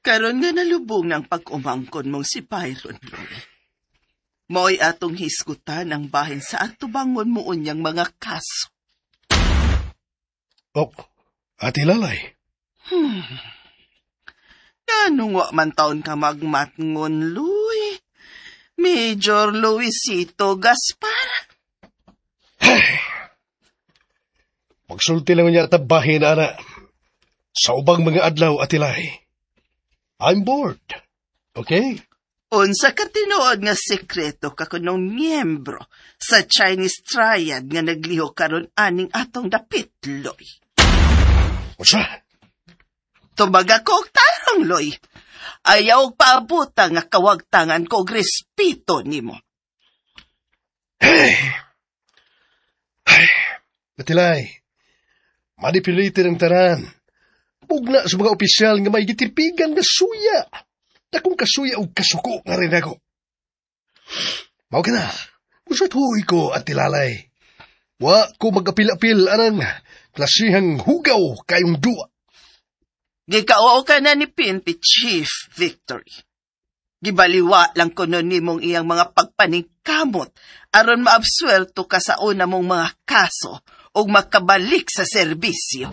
Karon nga nalubong ng pag-umangkon mong si Byron, Loy. Mo'y atong hisgutan ang bahin sa atubangon mo unyang mga kaso. Ok, Ate Lalay. Ganong wa man taon ka magmatngon, Luy? Major Luisito Gaspar. Magsulti lang niya at bahin, ana. Sa ubang mga adlaw, Ate Lai. I'm bored. Okay? Unsa ka tinuod nga sekreto ka kunong miyembro sa Chinese Triad nga nagliho karon aning atong dapit, Loy? Unsa? Tubaga ko og tarong, Loy. Ayaw og paabuta nga kawagtangan ko og respeto nimo. Ate Lai, manipulated ang tanan. Pugna sa mga opisyal nga may gitipigan nga suya. Dakong kasuya og kasuko nga rin ako. Mao ka na. Usat huy ko, Ate Lalay. Wa ko mag-apil-apil anang klasihang hugaw kayong duwa. Gikauo ka na ni PNP Chief Victory. Gibaliwa lang kuno nimong iyang mga pagpaningkamot aron maabsuelto ka sa una mong mga kaso ug makabalik sa serbisyo.